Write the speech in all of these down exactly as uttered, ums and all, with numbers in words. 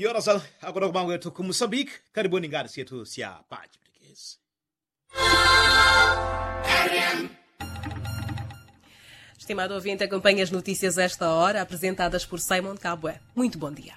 Orasalu. Akotoka mangu yetu ku musambiki. Karibuni ngati syetu sya pachipwitikizi. Estimado ouvinte, acompanhe as notícias a esta hora, apresentadas por Simon Kabwe. Muito bom dia.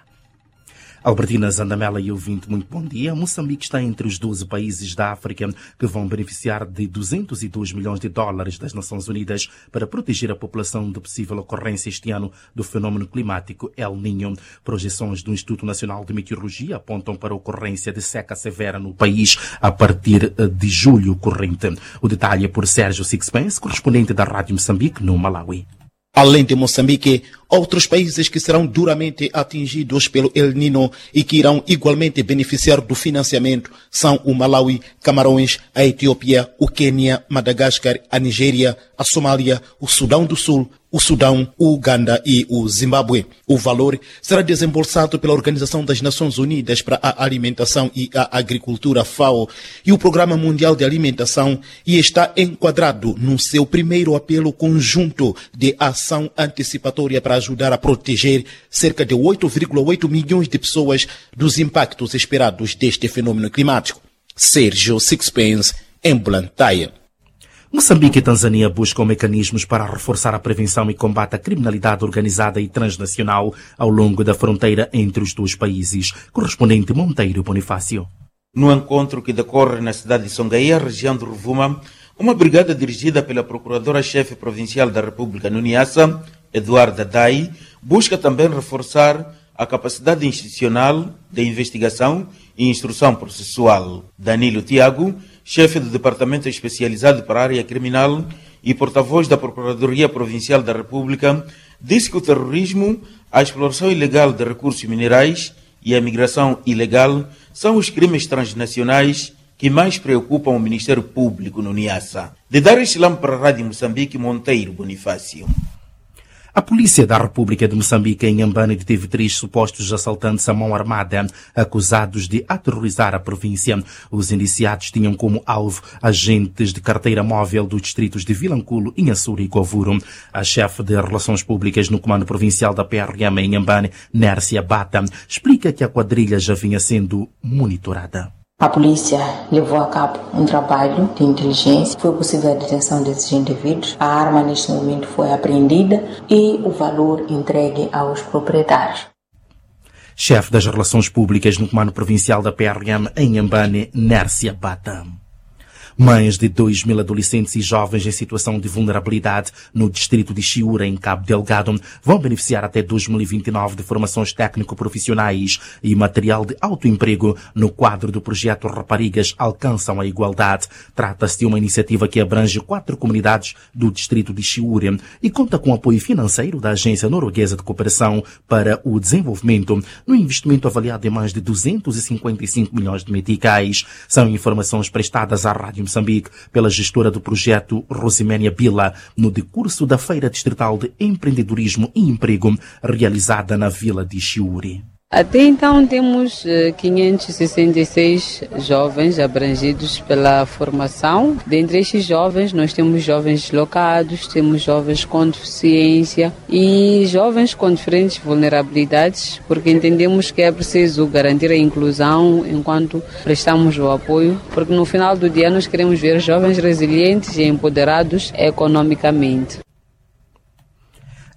Albertina Zandamela e ouvinte, muito bom dia. Moçambique está entre os doze países da África que vão beneficiar de duzentos e dois milhões de dólares das Nações Unidas para proteger a população de possível ocorrência este ano do fenômeno climático El Niño. Projeções do Instituto Nacional de Meteorologia apontam para a ocorrência de seca severa no país a partir de julho corrente. O detalhe é por Sérgio Sixpence, correspondente da Rádio Moçambique, no Malawi. Além de Moçambique, outros países que serão duramente atingidos pelo El Nino e que irão igualmente beneficiar do financiamento são o Malawi, Camarões, a Etiópia, o Quênia, Madagascar, a Nigéria, a Somália, o Sudão do Sul, o Sudão, o Uganda e o Zimbábue. O valor será desembolsado pela Organização das Nações Unidas para a Alimentação e a Agricultura, FAO, e o Programa Mundial de Alimentação, e está enquadrado no seu primeiro apelo conjunto de ação antecipatória para ajudar a proteger cerca de oito vírgula oito milhões de pessoas dos impactos esperados deste fenômeno climático. Sérgio Sixpence, em Blantyre. Moçambique e Tanzânia buscam mecanismos para reforçar a prevenção e combate à criminalidade organizada e transnacional ao longo da fronteira entre os dois países. Correspondente Monteiro Bonifácio. No encontro que decorre na cidade de Songaia, região de Ruvuma, uma brigada dirigida pela Procuradora-Chefe Provincial da República no Niassa, Eduarda Dai, busca também reforçar a capacidade institucional de investigação e instrução processual. Danilo Tiago, chefe do Departamento Especializado para a Área Criminal e porta-voz da Procuradoria Provincial da República, disse que o terrorismo, a exploração ilegal de recursos minerais e a migração ilegal são os crimes transnacionais que mais preocupam o Ministério Público no Niassa. De Dar es Salaam para a Rádio Moçambique, Monteiro Bonifácio. A Polícia da República de Moçambique, em Inhambane, deteve três supostos assaltantes à mão armada, acusados de aterrorizar a província. Os indiciados tinham como alvo agentes de carteira móvel dos distritos de Vilanculo, Inhassoro e Govuro. A chefe de Relações Públicas no Comando Provincial da P R M em Inhambane, Nércia Bata, explica que a quadrilha já vinha sendo monitorada. A polícia levou a cabo um trabalho de inteligência, foi possível a detenção desses indivíduos. A arma, neste momento, foi apreendida e o valor entregue aos proprietários. Chefe das Relações Públicas no Comando Provincial da P R M em Inhambane, Nércia Bata. Mais de dois mil adolescentes e jovens em situação de vulnerabilidade no distrito de Chiura, em Cabo Delgado, vão beneficiar até dois mil e vinte e nove de formações técnico-profissionais e material de autoemprego no quadro do projeto Raparigas Alcançam a Igualdade. Trata-se de uma iniciativa que abrange quatro comunidades do distrito de Chiura e conta com apoio financeiro da Agência Norueguesa de Cooperação para o Desenvolvimento, no investimento avaliado em mais de duzentos e cinquenta e cinco milhões de meticais. São informações prestadas à Rádio Moçambique pela gestora do projeto, Rosiménia Bila, no decurso da Feira Distrital de Empreendedorismo e Emprego, realizada na vila de Chiuri. Até então, temos, eh, quinhentos e sessenta e seis jovens abrangidos pela formação. Dentre estes jovens, nós temos jovens deslocados, temos jovens com deficiência e jovens com diferentes vulnerabilidades, porque entendemos que é preciso garantir a inclusão enquanto prestamos o apoio, porque no final do dia nós queremos ver jovens resilientes e empoderados economicamente.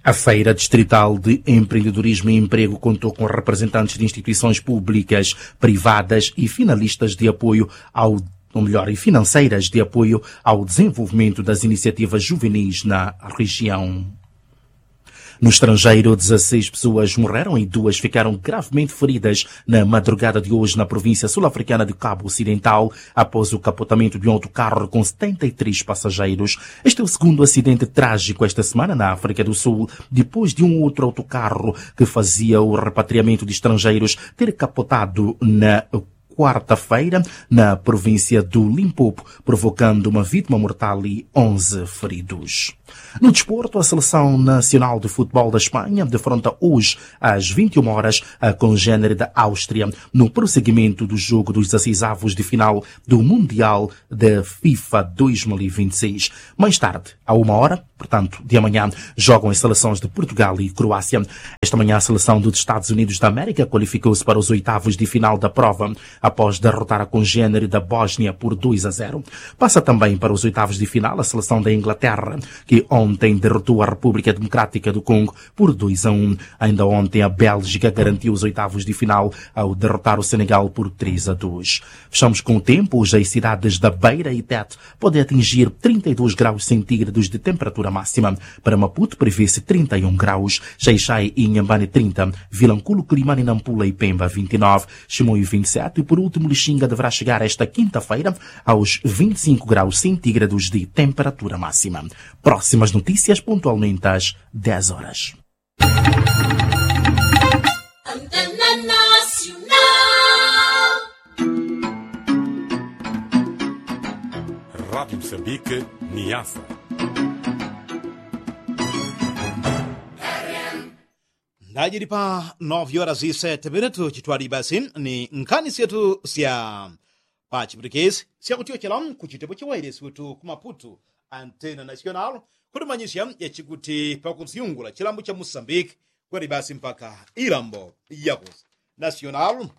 A Feira Distrital de Empreendedorismo e Emprego contou com representantes de instituições públicas, privadas e finalistas de apoio ao, ou melhor, e financeiras de apoio ao desenvolvimento das iniciativas juvenis na região. No estrangeiro, dezasseis pessoas morreram e duas ficaram gravemente feridas na madrugada de hoje na província sul-africana de Cabo Ocidental, após o capotamento de um autocarro com setenta e três passageiros. Este é o segundo acidente trágico esta semana na África do Sul, depois de um outro autocarro que fazia o repatriamento de estrangeiros ter capotado na quarta-feira, na província do Limpopo, provocando uma vítima mortal e onze feridos. No desporto, a seleção nacional de futebol da espanha defronta hoje às vinte e uma horas a congênere da áustria no prosseguimento do jogo dos dezasseis avos de final do mundial da fifa dois mil e vinte e seis. Mais tarde, à uma hora, portanto de amanhã, jogam as seleções de portugal e croácia. Esta manhã a seleção dos estados unidos da américa qualificou-se para os oitavos de final da prova após derrotar a congênere da bósnia por dois a zero. Passa também para os oitavos de final a seleção da inglaterra, que ontem derrotou a república democrática do congo por dois a um. Ainda ontem a bélgica garantiu os oitavos de final ao derrotar o senegal por três a dois. Fechamos com o tempo. Hoje as cidades da beira e tete podem atingir trinta e dois graus centígrados de temperatura máxima. Para maputo prevê-se trinta e um graus, xaixai e inhambane trinta, vilanculo quilimane nampula e pemba vinte e nove, chimoi vinte e sete e por último lixinga deverá chegar esta quinta-feira aos vinte e cinco graus centígrados de temperatura máxima. Próximas notícias pontualmente às dez horas. Rádio Moçambique, Niassa. Ndajili pa nove horas e sete minutos chitwali basi ni nkhani syetu sya pa chiputikisi sya kutyochela ku chitepo cha wailesi wetu ku maputu, antena national, kutimanyisya yachikuti pakusyungula chilambo cha musambiki kweli basi mpaka ilambo yakusi national,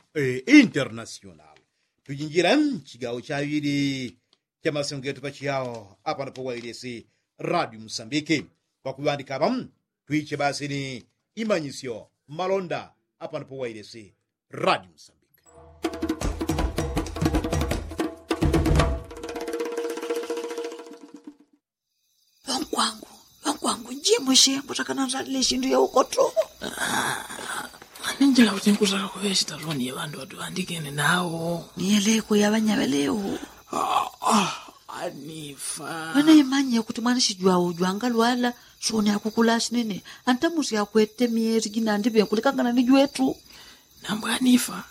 international. Tujinjila chigawo chaŵili cha masengo getu pachiyao apano pa wailesi radio musambiki. Pakuŵandika apa twiche basi ni imanyisyo malonda apano pa wailesi radio musambiki. Ŵankwangu, ŵankwangu, njimushe kutakana nzalile shindu ya ukoto. Aninjila kuti nkusaka kuŵe shitaloni ya ŵandu ŵatuŵandikene nawo. Niyeleko ya ŵanyaŵelewo. Anifa. Ŵanaimanye kuti mwanishijwawo jwangalwala soni akukula ashinene. Antamusi akwete myeli jinandiŵe kulikangana ni jwetu. Nambwanifa.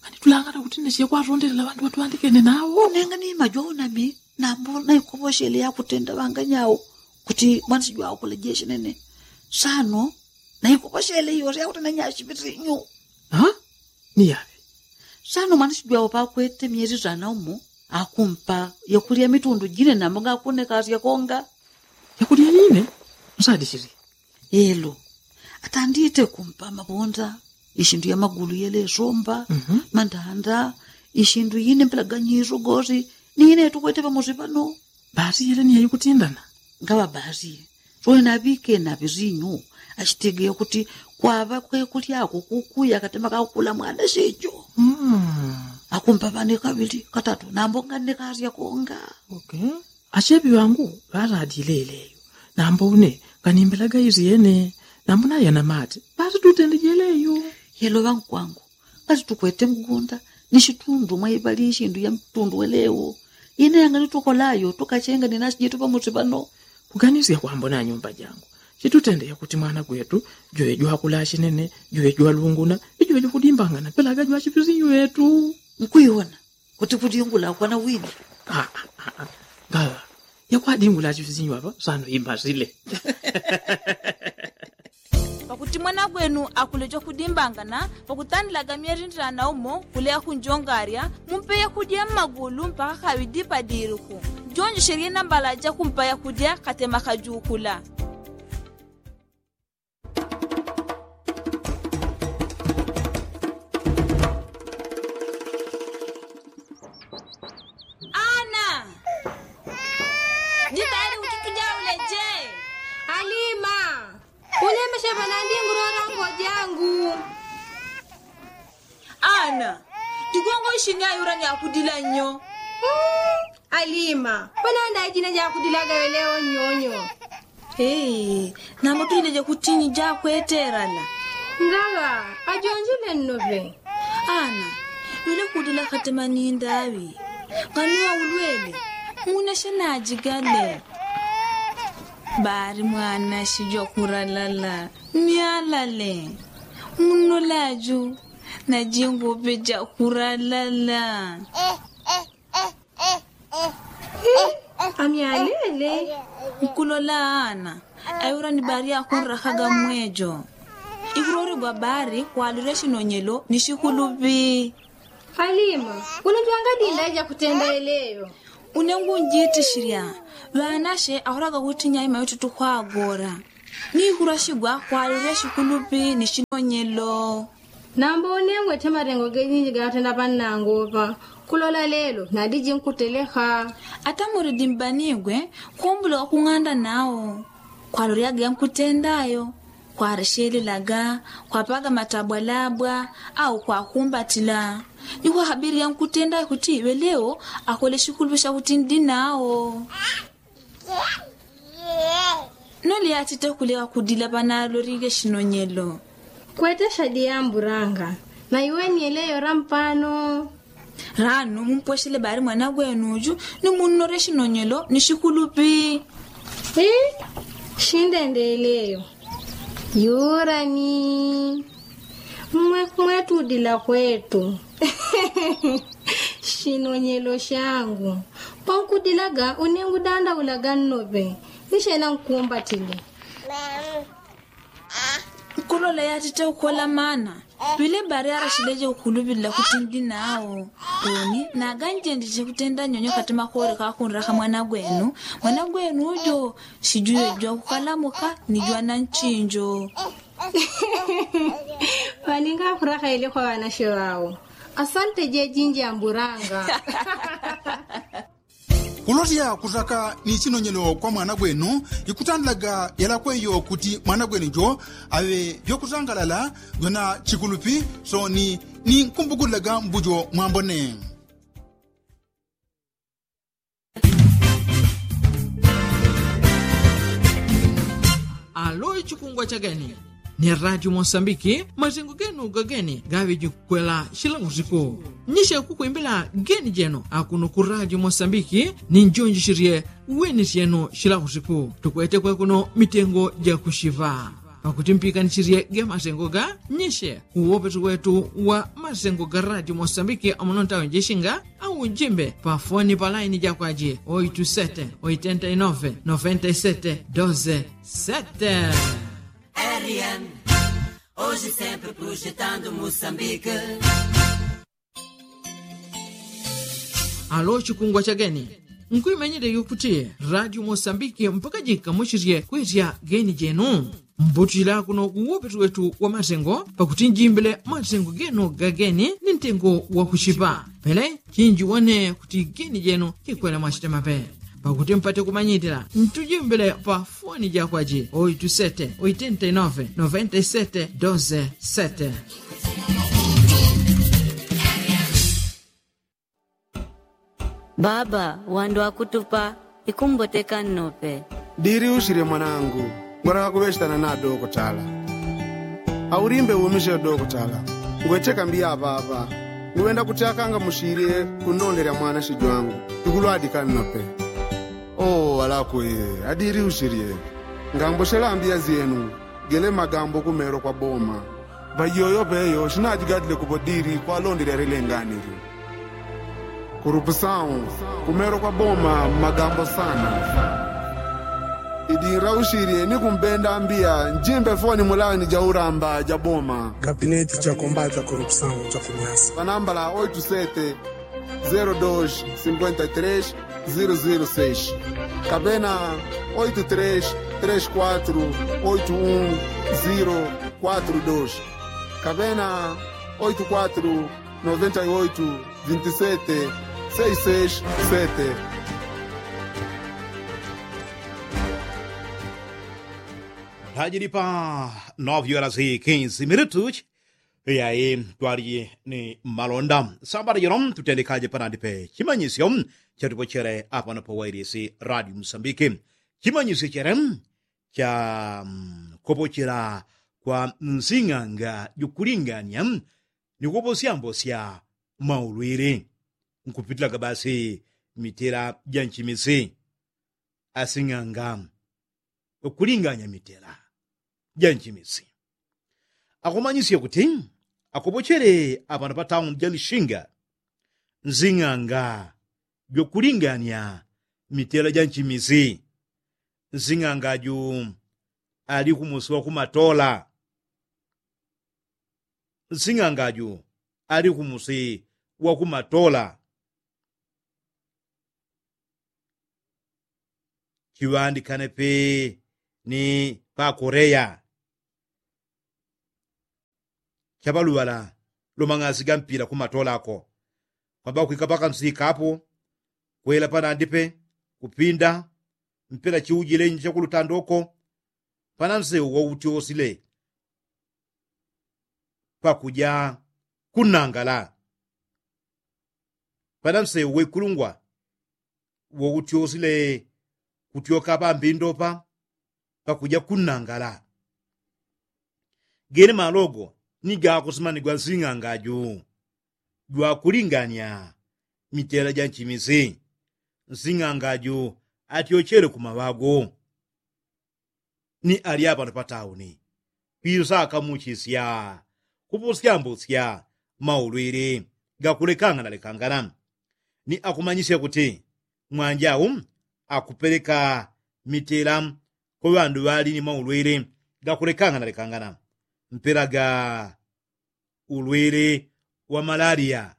Nganitulangana kuti nesiye kwatondelela ŵandu ŵatuŵandikene nawo. Nenga ni majwawo nami nambo naikoposhele yakutenda ŵanganyawo kuti mwanishijwawo kulejeshe nene. Sano naikoposhele iyose yakutenda nyashipitinyu. Niyaŵe. Sano mwanishijwawo pakwete myeli zana umo akumpa yakulya mitundu jine nambo ngakunekasya konga. Yakulya yine? Nsadishili. Yelo. Atandite kumpa mabonda, ishindu ya magulu yelesomba, mandanda, ishindu yine mpelaganyiso gosi ni yine yatukwete pamosi pano. Basi yele ni yayikutindana? Ngaŵa basi. Sole naŵike naŵisinyu. Ashitegeya kuti kwaŵa kwekulyako kukuya katema kakukula mwana shicho. Akumpa ŵane kaŵili katatu nambo nganekasya konga. Acheŵi ŵangu ŵaladile yeleyo. Nambo une nganimbelaga isyene. Nambo nayana mate basi tutende jeleyo. Yelo ŵankwangu, ngati tukwete mgunda ni shitundu mwaiŵali ishindu ya mtundu welewo. Ine yanganitukola ayo tukachenga ni nasi jetu pamosi pano. Kuganisya kwambo na nyumba jangu chitutende yakuti mwana gwetu jwe jwakula ashinene, jwe jwalunguna, ijwe jwakudimbangana pelaga jwachipisinyu yetu. Nkuiwona kuti kudingula kwana wini. Ngaŵa yakwadingula achipisinyu apa sano imbasile. Pakuti mwana gwenu akuleja kudimbangana pakutandilaga myeli ndirana umo kuleya kunjongarya, mumpe yakudya mmagulu mpaka kaŵidi padiliku. Jonjeshelye nambala jakumpa yakudya katema kajukula. Ana, jitayali kuti tujaule je? Alima, ulemeshe panandi ngurora ngojangu. Ana, jigongo ishini ayura ni akudila nyo. Alima, panandi ajina jakudilaga weleo nyonyo. Nambo tujileje kutinyi jakweterana. Ngaŵa ajonjile nnoŵe. Ana, wile kudila katema nindaŵi. Nganuwa ulwele, muneshe najigale. Bari mwana shijwa kuralala ni alale. Muno laju najingope jakuralala. Amyalele. Nkulola ana, ayura ni bari akunrakaga mwejo. Ikuloregwa bari kwalire shinonyelo ni shikulupi. Alima, uno jwangadinda ija kutenda eleyo. Une ngunjitishirya. Ŵanashe ahuraga kuti nyaima yotutukwagora. Nikurashigwa kwalire shikulupi ni shinonyelo. Namba unengwe te marengo gejinji gatenda panangopa. Kulola lelo nadiji nkuteleka. Ata muridi mbanigwe kumbula wakung'anda nao. Kwaloryaga yankutendayo, kwareshelelaga, kwapaga matabwalabwa, au kwakumbatila. Ni kwahabiri yankutendayo kuti iwe leo akole shikulupi shakuti ndi nao. Nole yatite kuleka kudila panalolile shinonyelo. Kwete shadi yamburanga. Na iwe ni eleyo rampano. Ranu mumpweshele bari mwana gwenuju, ni munnore shinonyelo ni shikulupi. Shindendeleyo. Yurani. Mwe kwetu udila kwetu. Shinonyelo shangu. Pankudilaga unengudandaulaga nnope. Nishena nkumbatile. Nkulola yatite ukola mana. Pile bari arashileje ukulupilila kuti ndi nao. Oni naganjendeje kutenda nyonyo kati makore kakunraka mwana gwenu. Mwana gwenu ujo shijuyo jwa kukalamuka ni jwa na nchinjo. Waninga akuraka ile kwa wanashe wao. Asante jejinji amburanga. Kulotya kutaka ni chinonyelo kwa mwana gwenu. Ikutandilaga yalakweyo kuti mwana gwenu jo aŵe vyokutangalala vyona chikulupi. Soni ni nkumbukulilaga mbujo mwambone. Alo ichikungwa chageni ni radio mosambiki mazengo genu gageni gaŵe jikwela shilakusiku. Nyishe kukwimbila geni jenu akuno ku radio mosambiki ni njonjishisye weni syenu shilakusiku. Tukwete kwekuno mitengo jakushiva pakuti mpikanishisye ge mazengo ga nyishe kuwopetu wetu wa mazengo ga radio mosambiki amuno ntawe njishinga au njimbe pa foni pa laini jakwaji oitu sete oitenta i nove noventa i sete doze sete. Rn, hoje sempre projetando Moçambique. Alo chikungwa chageni nkuimenyele yokuti radio mosambiki mpaka jikamuchisye kwesya geni jenu. Mbutila kuno kuwopetu wetu wa mazengo pakuti njimbile mazengo genu gageni ni ntengo wakuchipa. Pele chinji wane kuti geni jenu kikwela mwachitema pe pakuti mpate kumanyitila ntujimbile pa foni jakwaji oitu sete oitenta i nove noventa i sete doze sete. Baba wandu akutupa ikumboteka nnope. Diri ushirye mwanangu. Ngwataka kuŵechitana na dokotala. Aulimbe umishe dokotala. Ngwecheka mbiya aŵaŵa. Nguŵenda kuti akangamushirye kunnonderya mwana shijwangu. Ikulwadika nnope. Oo alakwe. Adiri ushirye. Ngamboshela mbiya zyenu. Gele magambo kumero kwa boma. Ŵaiyoyo peyo shinajigadile kupo diri kwalondele arelenganili. Kurupusawu. Kumero kwa boma magambo sana. Idira ushirye ni kumbenda mbiya njimbe foni mulani jauramba jaboma. Gabineti jakombata kurupusawu jakunyasa panambala oitu sete zero dos sinkwenta i tres zero zero seis kapena oitu tres tres kwatru oitu un zero kwatru dos kapena oitu kwatru noventa i oitu vinti sete seis seis sete. Lajili pa nove horas i kinzi minutus. Iyayi twali ni malonda sambala jino tutendekaje panandi pe chimanyisyo chatupochere apano pa wailisi radio musambiki. Chimanyisyo chere cha kopochera kwa nzing'anga jukulinganya ni koposyambosya maulwili nkupitilaga basi mitela ja nchimisi. Asing'anga kulinganya mitela ja nchimisi akumanyisya kuti akopochele apano pa tauni ja lishinga nzing'anga jwakulinganya mitela ja nchimisi. Nsing'anga ju ali kumusi wa kumatola. Nsing'anga ju ali kumusi wa kumatola. Chiŵandikane pe ni pa koreya. Chaŵaluŵala lumang'asi ga mpila kumatolako. Kwamba kwika pakansi kapo kwela panandi pe kupinda mpela chiujile nje chakulutandoko. Panansewu wautyosile pakuja kunangala. Panansewu wekulungwa woutyosile kutyoka pambindopa pakuja kunangala. Gene malogo ni gakusimanigwa nsing'anga ju jwakulinganya mitela ja nchimisi. Nsing'anga ju atyochele kumaŵago ni ali apano patauni. Kwisakamuchisya kupusyambusya maulwili gakulekangana lekangana. Ni akumanyisya kuti mwanjau akupeleka mitela kwa ŵandu ŵali ni maulwili gakulekangana lekangana. Mpela ga ulwili wa malaria.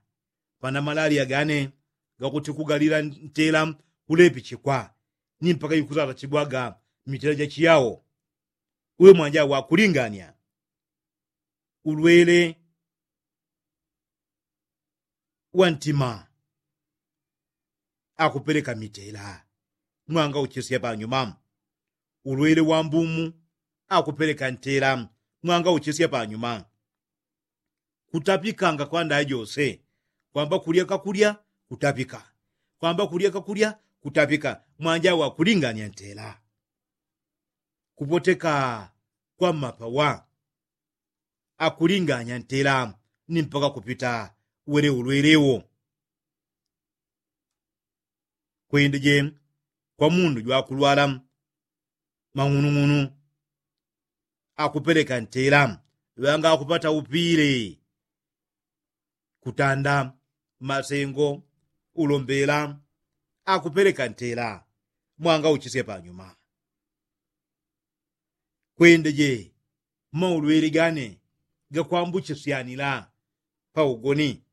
Pana malaria gane gakuti kugalila ntela kulepichikwa ni mpaka ikusatachigwaga mitela jachiyao. Uwe mwanja wakulingania ulwili wa ntima akupeleka mitela mwanga uchisya panyuma. Ulwili wa mbumu akupeleka ntela mwanga uchisya panyuma. Kutapikanga kwa ndaya jose kwamba kulya kakulya kutapika kwamba kulya kakulya kutapika mwanja wakulingania ntela. Kupoteka kwa mapawa akulinganya ntela ni mpaka kupita wele ulwelewo. Kwendeje kwa mundu jwakulwala mang'unung'unu akupeleka ntela ŵanga akupata upile kutanda masengo ulombela akupeleka ntela mwanga uchisye panyuma. Kwendeje maulwele gane gakwambuchisyanila paugoni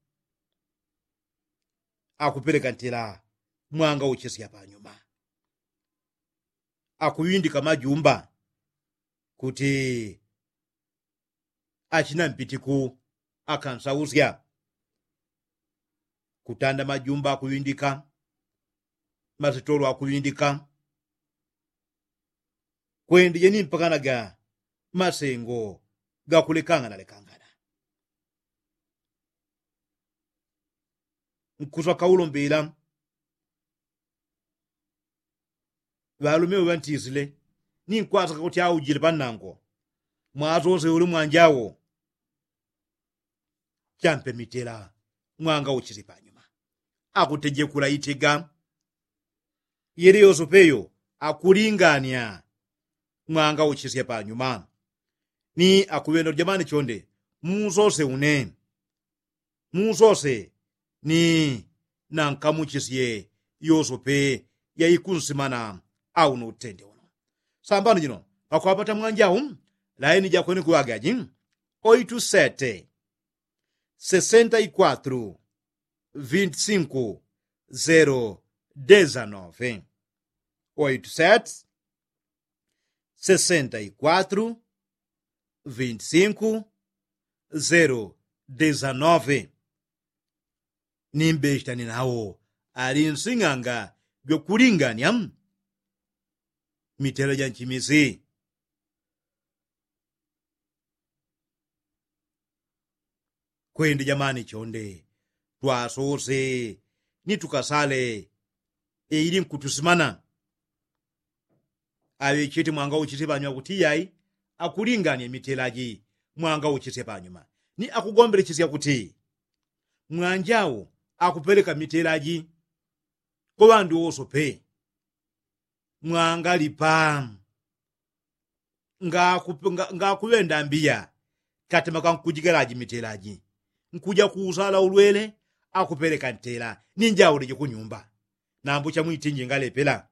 akupeleka ntela mwanga uchisya panyuma. Akuŵindika majumba kuti achina mpitiku akansausya kutanda majumba akuŵindika masitolo akuŵindika. Kwendije ni mpakana ga masengo gakulekangana lekangana. Nkuswa kaulombela ŵalume ŵantisile ni nkwasaka kuti aujile pannango mwasose uli mwanjawo. Champe mitela mwanga uchisye panyuma akutejekula itega yele yosopeyo akulingania mwanga uchisye panyuma. Ni akuŵenda uli jamani chonde musose une musose ni nankamuchisye yosope yaikunsimana. Au no utende uno sambano jino pakwapata mwanjau laini jakwene kuŵagaji oitu sete sesenta i kwatru vinti sinku zero dezanove. Oitu sete sesenta i kwatru vinti sinku zero dezanove. Ni mbeshitani nawo ali nsing'anga jwakulingania mitela ja nchimisi. Kwende jamani chonde twasose ni tukasale. Eili nkutusimana aŵechete mwanga uchisye panyuma kuti yai akulingania mitela ji mwanga uchisye panyuma. Ni akugombelechesya kuti mwanjau akupeleka mitela ji kwa ŵandu wosope. Mwangalipa ngakuŵenda mbiya katemaka nkujigalaji mitelaji nkuja kuusala ulwele akupeleka ntela ninjauleje kunyumba. Nambo chamwitinji ngalepela.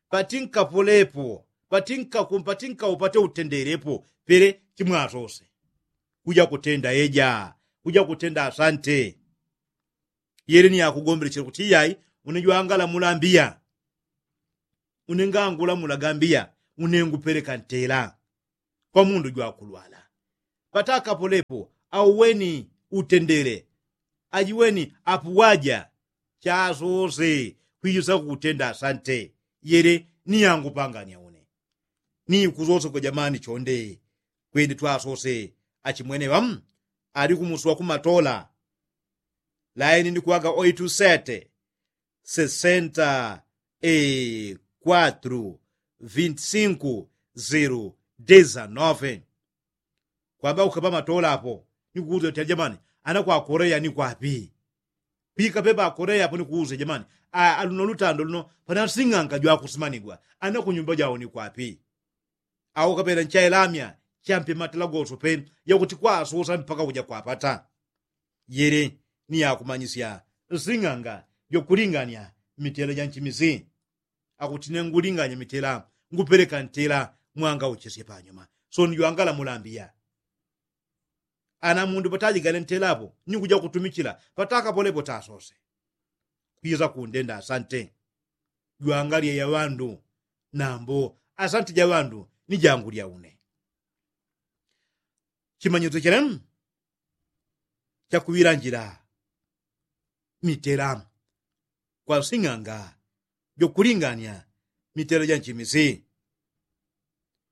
Patinkapolepo, patinkaku patinkaupate utendelepo pele chimwasose. Kuja kutenda eja, kuja kutenda asante. Yele ni yakugombelechela kuti iyai, une jwangala mulambiya. Une ngangula mulagambiya, une ngupeleka ntela. Kwa mundu jwakulwala patakapolepo, auweni utendele. Ajiweni apuwaja chasose. Kwijusa kutenda asante. Yele ni yangupanganya une ni kuzose kwa jamani chonde. Kwende twasose achimwene ŵamu ali kumusi wa kumatola. Laini ni kuwaga oitu sete sesenta e kwatru vinti sinku ziru dezanove. Kwamba ukapa matola apo ni kuuza uti alijamani, ana kwa korea ni kwapi? Pika pepa korea apo ni kuuza jamani, aluno lutando luno pana sing'anga jwakusimanigwa ana kunyumba jao ni kwapi? Au kapela nchailamya champe matela goso pe yakuti kwasusa mpaka uja kwapata. Yele ni yakumanyisya sing'anga jokulinganya mitela janchimisi. Akuti ne ngulinganya mitela, ngupeleka ntela mwanga uchesye panyuma. So ni jwangala mulambiya. Ana mundu patajigale ntela apo ni kuja kutumichila patakapolepo tasose. Kwiza kundenda asante. Jwangalye ya ŵandu nambo asante ja ŵandu ni jangu lya une. Chimanyiso chelemu chakuŵila njila mitela kwa sing'anga jokulinganya mitela janchimisi.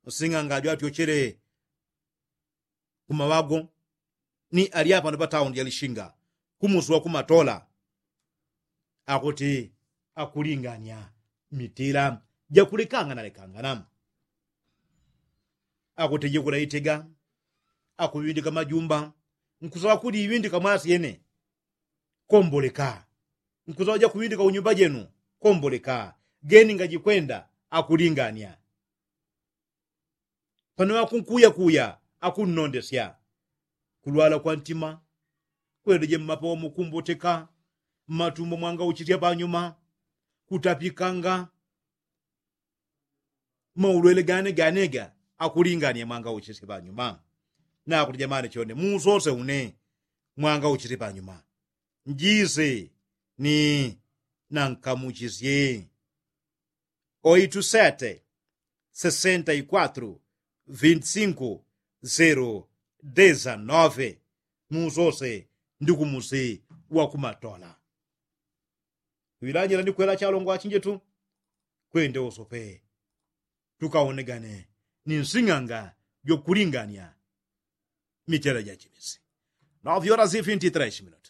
Sing'anga jwatyochele kumaŵago ni ali apano pataundi yalishinga kumusi wa kumatola. Akuti akulinganya mitila jakulekangana lekangana. Akuti jikula itega akuŵindika majumba. Nkusaŵa kuli iŵindika mwasi yene komboleka. Nkusaŵa jakuŵindika unyumba jenu komboleka. Geni ngajikwenda akulinganya. Pano akunkuyakuya akunnondesya. Kulwala kwa ntima kwedeje mmapawa mukumboteka mmatumbo mwangauchisya panyuma. Kutapikanga maulwele gane ganega akulingania mwangauchisya panyuma. Nakuti jamani chone muusose une mwangauchisye panyuma. Njise ni nankamuchisye. Oitu sete sesenta i kwatru vinti sinku zeru dezanove. Musose ndi kumusi wa kumatola. Wilanjila ni kwela chalongo achinjetu kwende usope tukaonegane ni nsing'anga jokulingania mitela jachimisi. Novyola zifinti tresi minutu.